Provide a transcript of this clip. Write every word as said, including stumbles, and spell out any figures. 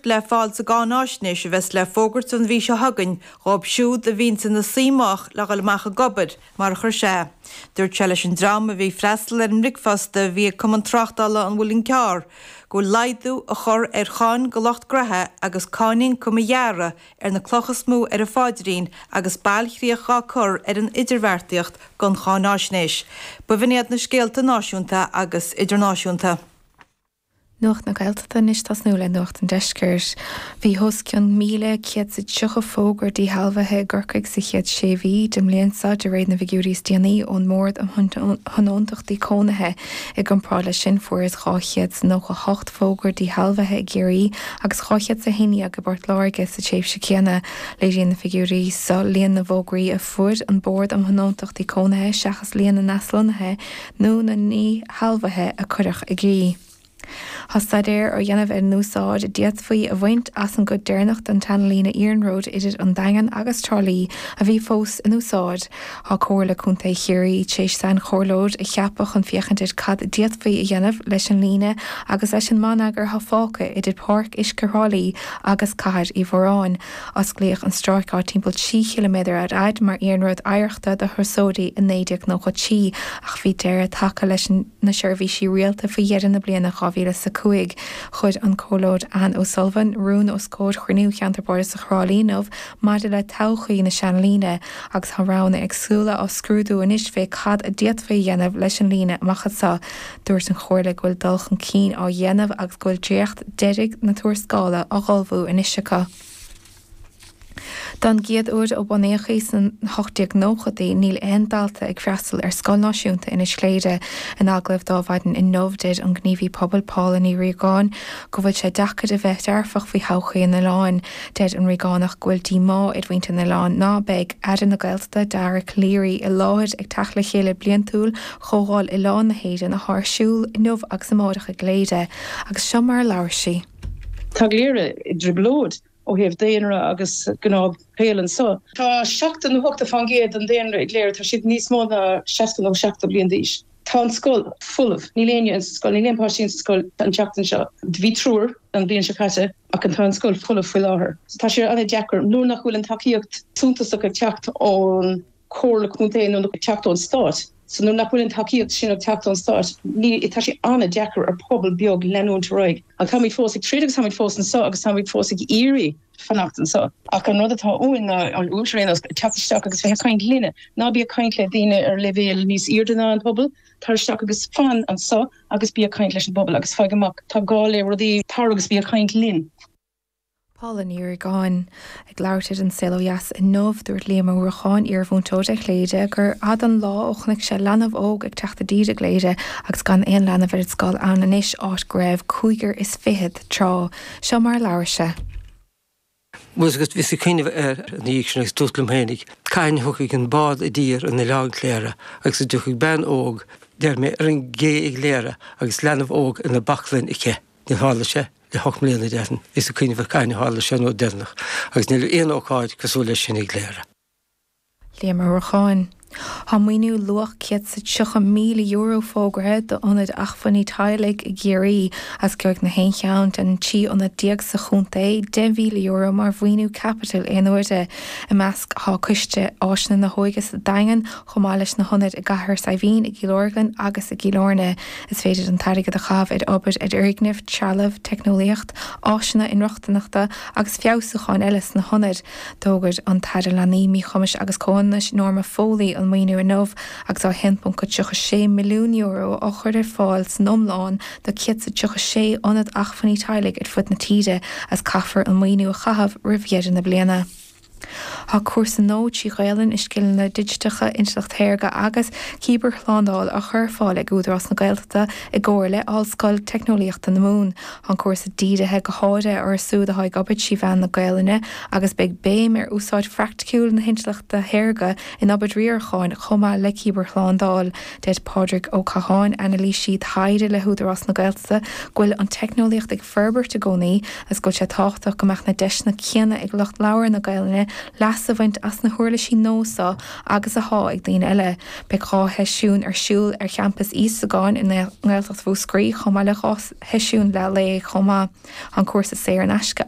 le fáil sa gcáináisnéis a bheas le fógairt an mhí seo chugainn dhóibh siúd a bhíonn ina suí moch le dhul amach ag obair, mar a chuir sé. Dúirt sé leis an dream a bhí ag freastal ar an mbricfeasta a bhí ag Cumann Tráchtála an Mhuilinn Chearr go bhfuil laghdú a chur ar cháin go lucht graithe agus cáin ioncaim a ghearradh ar na clocha is mó ar an pháidrín agus bailchríoch á cur ar an idirbheartaíocht don cháináisnéis. B'in iad na scéalta náisiúnta agus idirnáisiúnta. Nuacht na Gaeltachta anois tosnú le Nuacht an Deiscirt. Bhí os cionn míle céad is tríocha fógra díshealbhaithe i gCorcaigh sa chéad sé mhí den mbliain seo de réir na bhfigiúirí is déanaí ón mBord um Thionóntachtaí Cónaithe. I gcomparáid leis sin fuarthas dhá chéad is nócha hocht fógra díshealbhaithe i gCiarraí agus dhá chéad is a haon déag i bPort Láirge sa tréimhse chéanna. Léiríonn na figiúirí seo líon na bhfógraí a fuair an Bord um Thionóntachtaí Cónaithe seachas líon na n-aslonnuithe nó na ndíshealbhuithe a cuireadh i gcrích. Tá staidéar á dhéanamh ar an úsáid a d'fhéadfaí a bhaint as an gcuid deireanach den tseanlíne iarnróid idir an Daingean agus Trá Lí a bhí fós in úsáid. Tá Comhairle Contae Chiarraí tar éis sainchomhairleoir a cheapadh chun féachaint ar cad a d'fhéadfaí a dhéanamh leis an líne agus leis an mbonneagar atá fágtha idir Páirc Uisce Thrá Lí agus Cathair Uí Mhóráin. Osclaíodh an stráice timpeall trí chiliméadar ar fhad mar iarnród oidhreachta do thurasóirí i naoi déag nócha trí ach bhí deireadh tagtha leis na seirbhísí rialta faoi dheireadh na bliana dhá mhíle is a cúig. Chuir an Comhairleoir Anne O'Sullivan rún os comhair chruinniú Cheantar Bardasach Thrá Lí inniu maidir le todhchaí na seanlíne agus tá roghanna éagsúla á scrúdú anois fé cad a d'fhéadfaí a dhéanamh leis an líne amach anseo. Dúirt an Chomhairle go bhfuil dul chun cinn á dhéanamh agus go bhfuil dréacht deiridh na tuarascála á ullmhú anois acu. Don gcéad uair ó bunaíodh í sna hocht déag nóchaidí, níl aon dalta ag freastal ar Scoil Náisiúnta Inis Chléire. In agallamh d'Adhmhaidin inniu, deir an gníomhaí pobail Paula Ní Riagáin go bhfuil sé deacair a bheith dearfach faoi thodhchaí an oileáin. Deir an Ríogánach go bhfuil díomá ar mhuintir an oileáin ná beidh Aire na Gaeltachta Dara Calleary i láthair ag teacht le chéile bliantúil Chomhdháil Oileáin na hÉireann atá ar siúl inniu agus amárach i gCléire. Agus seo mar a labhair sí. Tá Cléire i dtrioblóid ó thaobh daonra agus gnáthshaol anseo. Tá seachtó nó ochtó faoin gcéad den daonra i gCléire, tá siad níos mó ná seasca nó seachtó bliain d'aois. Tá an scoil folamh, níl éinne insa scoil, níl aon páistí insa scoil an tseachtain seo. Bhí triúr an bhliain seo caite ach tá an scoil folamh faoi láthair. Tá sé an-deacair nuair nach bhfuil an tacaíocht suntasach ag teacht ón Chomhairle Contae nó ag teacht ón Stát. So nuair nach bhfuil an tacaíocht sin ag teacht ón Stát, ní, tá sé an-deacair ar pobal beag leanúint ar aghaidh. Ach táimid fós ag troid agus táimid fós anseo agus táimid fós ag iarraidh fanacht anseo. Ach an rud atá uainn ná an uaimse ar aon nós, teacht isteach agus bheith ag caint linne. Ná bí ag caint le daoine ar leibhéal níos airde ná an pobal, tar isteach agus fan anseo agus bí ag caint leis an bpobal agus faigh amach, tá gá le rudaí, tar agus bí ag caint linn. Paula Ní Riagáin. Ag labhairt ar An Saol Ó Dheas inniu, dúirt Liam Ó Rocháin, iarmhúinteoir ar Chléire, gur fhada an lá ó chonaic sé leanbh óg ag teacht i dtír i gCléire agus gan aon leanbh ar an scoil ann anois, áit go raibh cúigear is fichead tráth. Seo mar a labhair sé. Bhuel agus bhíos ag cuimhneamh air ina dhiaidh sin agus dúirt liom féinig, cathain a thiocfaidh an bád i dtír in Oileán Chléire agus a dtiocfaidh bean óg, deir mé, ar an gcé i gCléire agus leanbh óg ina baclainn aici. Níor tharla sé. Le hocht mbliana déarfainn, bhíos ag cuimhneamh ar cathain a tharla sé an uair deireanach agus níl aon ócáid cosúil leis sin i gCléire. Liam Ó Rocháin. Tá maoiniú luach céad is tríocha míle euro fógartha d'Ionad Acmhainní Teaghlaigh i gCiarraí agus gheobhaidh na haon cheann den trí ionad déag sa chontae deich mhíle euro mar mhaoiniú caipitil aon uaire. I measc tá Coiste Áiseanna na hÓige sa Daingean chomh maith leis na hionaid i gCathair Saidhbhín, i gCill Orglan agus i gCill Airne. Is féidir an t-airgead a chaitheamh ar obair ar fhoirgnimh, trealamh, teicneolaíocht, áiseanna inrochtaineachta agus feabhsúcháin eile sna hionaid. D'fhógair an tAire Leanaí, Míchumais agus Comhionannais Norma Foley an maoiniú inniu agus tá a haon ponc tríocha sé milliún euro á chur ar fáil san iomlán do céad is tríocha sé ionad acmhainní teaghlaigh ar fud na tíre agus caithfear an maoiniú a chaitheamh roimh dheireadh na bliana. Tá cúrsa nua trí Ghaelainn i scileanna digiteacha, intleacht shaorga agus cibearshlándáil á chur ar fáil ag Údarás na Gaeltachta i gcomhar le Ollscoil Teicneolaíochta na Mumhan. Tá an cúrsa dírithe go háirithe orthu siúd atá ag obair trí mheán na Gaelainne agus beidh béim ar úsáid phraiticiúil na hintleachta shaorga in obair riaracháin chomh maith le cibearshlándáil. Deir Pádraig Ó Catháin, anailísí taighde le hÚdarás na Gaeltachta, go bhfuil an teicneolaíocht ag forbairt i gcónaí agus go bhfuil sé tábhachtach go mbeadh na deiseanna céanna ag lucht labhartha na Gaelainne leas a bhaint as na huirlisí nua seo agus atá ag daoine eile. Beidh dhá sheisiún ar siúl ar champas Íosagáin i nGaeltacht Mhúscraí chomh maith le dhá sheisiún leath lae chomh maith. Tá an cúrsa saor in aisce.